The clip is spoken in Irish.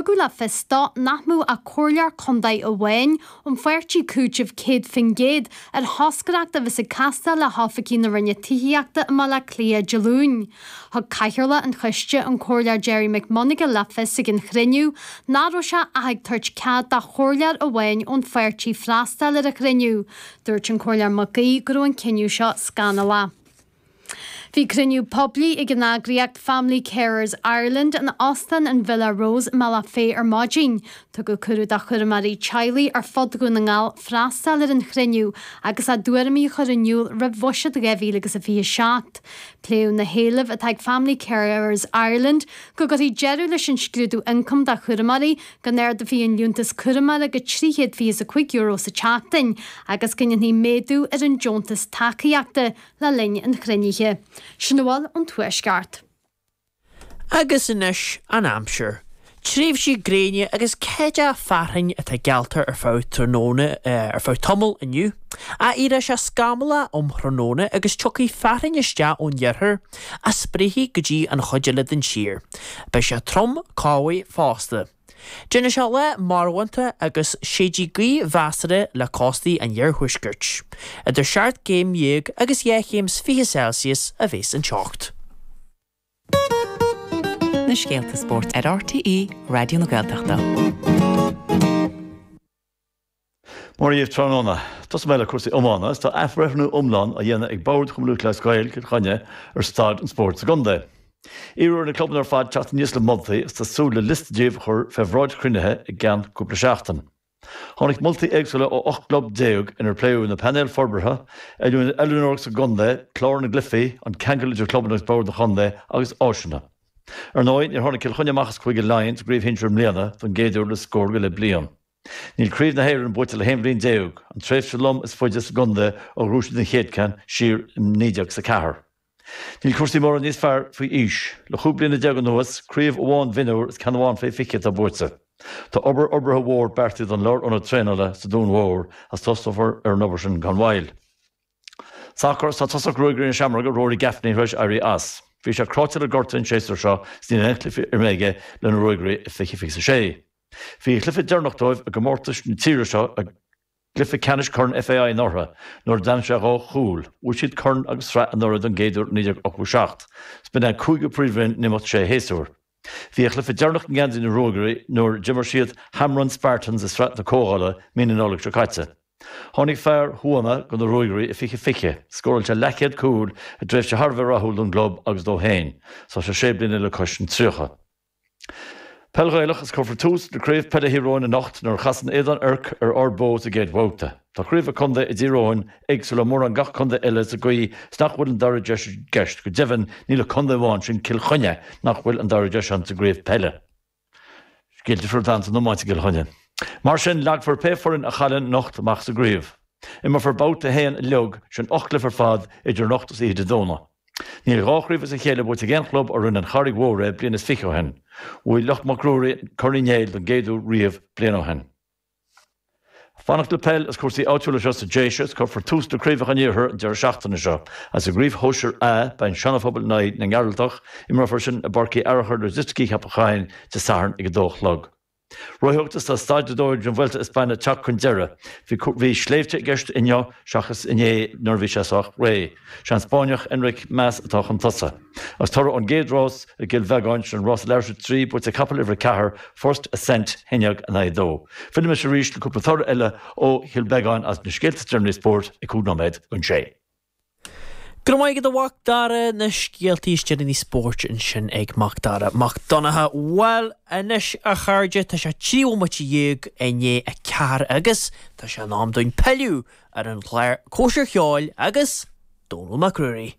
Tugadh le fios dó nach mbeadh ach comhairleoir contae amháin ón pháirtí cúitimh 100% ar thoscaireacht a bheas ag castáil le hoifigigh na Roinne Tithíochta i mBaile Átha Cliath Dé Luain. Thug Cathaoirleach an choiste, an Comhairleoir Gerry McMonagall le fios ag an chruinniú nach raibh sé ach ag tabhairt cead do chomhairleoir amháin ón pháirtí freastal ar an chruinniú. Dúirt an Comhairleoir Mac Aoidh go raibh an cinneadh seo scannalach. Bhí cruinniú poiblí ag an eagraíocht Family Carers Ireland in Óstán an Villa Rose i mBealach Féich ar maidin. Tugadh cuireadh do chúramóirí teaghlaigh ar fud Dhún na nGall freastal ar an chruinniú agus a dtuairimí a chur in iúl roimh Bhuiséad 2027. Pléadh na héilimh atá ag Family Carers Ireland go gcuirfí deireadh leis an scrúdú ioncaim do chúramóirí, go n-ardófaí an liúntas cúramóra go €325 sa tseachtain agus go ndéanfaí méadú ar an deontas tacaíochta le linn an chruinnithe. Sin a bhfuil ón Tuaisceart. Agus anois an aimsir. Tréimhsí gréine agus ceathrú fearthainn atá geallta ar feadh tráthnóna ar feadh tamaill inniu. Ach éireoidh sé scamallach um thráthnóna agus tiocfaidh fearthainn isteach ón iarthar a spréifidh go dtí an chuid eile den tír. Beidh sé trom cámhaigh fosta. Déanfaidh sé lá marbhánta agus séidfidh gaoth mheasartha le cóstaí an iarthuaiscirt. Idir 17 gcéim agus 2 chéim is 20 Celsius a bheas an teocht. Na scéalta spóirt ar RTÉ Raidió na Gaeltachta. Mora dhaoibh tráthnóna. Tosóidh mé le cúrsaí iomána is tá athbhreithniú iomlán á dhéanamh ag Bord Chumann Lúthchleas Gael, Cill Chainnigh ar staid an spóirt sa gcontae. Iarradh ar na clubanna ar fad teacht aníos le moltaí is tá súil le liosta díobh a chur fé bhráid chruinnithe i gceann cúpla seachtain. Tháinig moltaí éagsúla ó 18 gclub inar pléadh na painéil forbartha, oiliúnóireacht sa gcontae, clár na gcluichí, an ceangal idir clubanna agus bord an chontae agus áiseanna. Ar ndóigh, níor tháinig Cill Chainnigh amach as Cúige Laighean sa gcraobh shinsir i mbliana don gcéad uair le scór go leith bliain. Níl Craobh na hÉireann buaite le haon bhliain déag, an tréimhse lom is faide sa gcontae ó ghnóthaigh siad an chéad ceann siar i 1904. Níl cúrsaí mórán níos fearr faoi aois. Le 15 bliana anuas, craobh amháin mhionúr is ceann amháin fé 20 atá buaite. Tá obair fhorbartha mhór beartaithe don lárionad traenála sa Dún Mhór agus tosnófar ar an obair sin gan mhoill. Sacar, Tá tosach Ruagairí na Seamróige, Rory Gaffney, tar éis éirí as. Bhí sé cráite le gortú an séasúr seo is níl aon chluiche imeartha aige le na Ruagairí i 2026. Bhí a chluiche deireanach dóibh i gcomórtais na tíre seo i gcluiche ceannais Chorn FAI anuraidh nuair a d'aimsigh sé dhá chúl. Bhuaigh siad corn agus sraith anuraidh don gcéad uair i 1987. 'S b'in é an cúigiú príomhroinn in imeacht sé shéasúr. Bhí a chluiche deireanach i ngeansaí na Ruagairí nuair a d'imir siad Hamrun Spartans i Sraith na Comhdhála mí na Nollag seo caite. Tháinig fear Thuama go na Ruagairí i 2020. Scóráil sé leathchéad cúl i dtréimhse thar a bheith rathúil don gclub agus dó féin. Tá sé sé bliana le cois an 30. Peil Ghaelach Is cuirfear tús le Craobh Peile Thír Eoghain anocht nuair a chasann Aodán Oirc ar Ard Bó sa gcéad bhabhta. Tá craobh an chontae i dTír Eoghain éagsúil le mórán gach contae eile sa gcaoi is nach bhfuil an dara deis i gceist, go deimhin níl ach contae amháin, sin Cill Chainnigh, nach bhfuil an dara deis ann sa gcraobh peile. Scéal difriúil atá ann san iomáint i gCill Chainnigh. Mar sin, leagfar pé foireann a chailleann anocht amach sa gcraobh. Imreofar babhta 1 uilig, sin 8 gcluiche ar fad, idir anocht is oíche Dé Domhnaigh. Níl dhá chraobh as a chéile buaite ag aon chlub ó rinne an Charraig Mhór é bliain is fiche ó shin. Bhuaigh lucht Mac Ruairí Corn Uí Néill don gcéad uair riamh bliain ó shin. Fanacht le peil is cúrsaí áitiúla anseo sa Déise is cuirfear tús le Craobhacha an Iarthair an deireadh seachtaine seo. Agus i gCraobh Shóisir A beidh an Seana-Phobal in aghaidh na nGearaltach, imreofar sin i bPáirc Uí Fhearachair Logistic Cheapach Choinn Dé Sathairn ag a dó a chlog. Rothaíocht is tá staid 2 den Vuelta a España ag teacht chun deireadh. Bhí bhí sléibhte i gceist inniu seachas inné nuair a bhí sé sách réidh. Sé an Spáinneach Enric Mas atá chun tosaigh. Agus toradh ón gcéad rás i gCill Bheagáin, sin rás leithris 3, buaite ag capall uimhir 4, First Ascent, 1 in aghaidh 2. Fillfimis arís le cúpla toradh eile ó Chill Bheagáin as na scéalta is deireanaí spóirt ag 5 nóiméad don sé. Go raibh maith agat a Mhac Dara, na scéaltaí is deireanaí spóirt ansin ag Mac Dara Mac Donncha. Bhuel, anois a chairde, tá sé 13 bhomaite i ndiaidh a 4 agus tá sé in am dúinn pilleadh ar an gclár Cóisir Cheoil agus Dónall Mac Ruairí.